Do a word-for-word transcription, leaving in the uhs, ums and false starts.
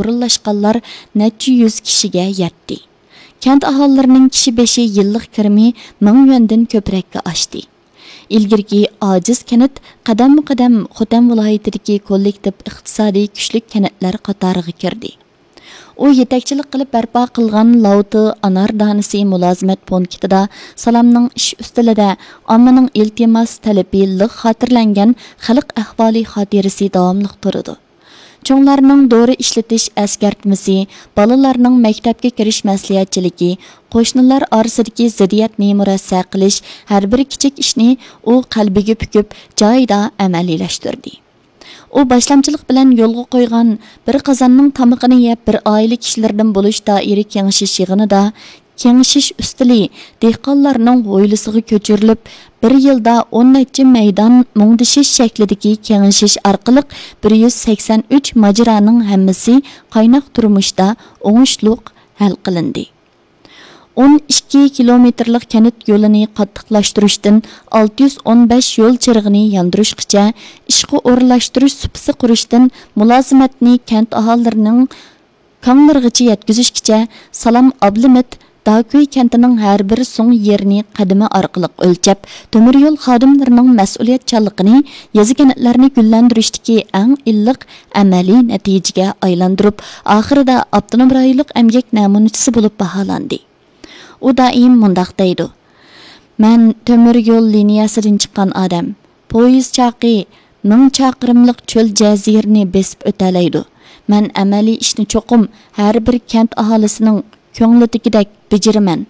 ئورۇنلاشقانلار نەچچە يۈز كىشىگە يەتتى. كەنت ئاھالىلىرىنىڭ كىشى بېشى يىللىق كىرىمى مىڭ يۈەندىن كۆپرەككە ئاشتى. ئىلگىرىكى ئاجىز كەنت قەدەممۇ قەدەم خوتەن ۋىلايىتىدىكى كوللېكتىپ ئىقتىسادىي كۈچلۈك كەنتلەر قاتارىغا كىردى. ئۇ يېتەكچىلىك قىلىپ بەرپا قىلغان لاۋتى ئانار دانىسى مۇلازىمەت پونكىتىدا سالامنىڭ ئىش ئۈستىلىدە ئاممىنىڭ ئىلتىماس تەلىپى لىق خاتىرىلەنگەن خەلق ئەھۋالى خاتىرىسى داۋاملىق تۇرىدۇ. چوڭلارنىڭ دورا ئىشلىتىش ئەسكەرتمىسى، بالىلارنىڭ مەكتەپكە كىرىش مەسلىھەتچىلىكى، قوشنىلار ئارىسىدىكى زىددىيەتنى مۇرەسسە قىلىش، ھەر بىر كىچىك ئىشنى ئۇ قەلبىگە پۈكۈپ، جايىدا ئەمەلىيلەشتۈردى. ئۇ باشلامچىلىق بىلەن يولغا قويغان بىر قازاننىڭ تامىقىنى يەپ، بىر ئائىلە كىشىلىرىدىن بولۇش دائىرە كېڭىشىش يىغىنىدا، كېڭىشىش ئۈستىلى دېھقانلارنىڭ ھويلىسىغا كۆچۈرۈلۈپ، بىر يىلدا ئون نەچچە مەيدان مۇڭدىشىش شەكلىدىكى كېڭىشىش ئارقىلىق بىر يۈز سەكسەن ئۈچ ماجىرانىڭ ھەممىسى قايناق تۇرمۇشتا ئوڭۇشلۇق ھەل قىلىندى. ئون ئىككى كىلومېتىرلىق كەنت يولىنى قاتتىقلاشتۇرۇشتىن ئالتە يۈز ئون بەش يول چىرىغىنى ياندۇرۇشقىچە، ئىشقا ئورۇنلاشتۇرۇش سۇپىسى قۇرۇشتىن مۇلازىمەتنى كەنت ئاھالىلىرىنىڭ كاڭلىرىغىچە يەتكۈزۈشكىچە، سالام ئابلىمىت داكۈي كەنتىنىڭ ھەر بىر سۇڭ يېرىنى قەدىمى ئارقىلىق ئۆلچەپ، تۆمۈر يول خادىملىرىنىڭ مەسئۇلىيەتچانلىقىنى يېزا كەنتلەرنى گۈللەندۈرۈشتىكى ئەڭ ئىللىق ئەمەلىي نەتىجىگە ئايلاندۇرۇپ، ئاخىرىدا ئاپتونوم رايونلۇق ئەمگەك نەمۇنىچىسى بولۇپ باھالاندى. ئۇ دائىم مۇنداق دەيدۇ: «مەن تۆمۈر يول لىنىيەسىدىن چىققان ئادەم. پويىز چاقى مىڭ چاقىرىملىق چۆل جەزىرىنى بېسىپ ئۆتەلەيدۇ. مەن ئەمەلىي ئىشنى چوقۇم ھەر بىر كەنت ئاھالىسىنىڭ كۆڭلىدىكىدەك بېجىرىمەن.»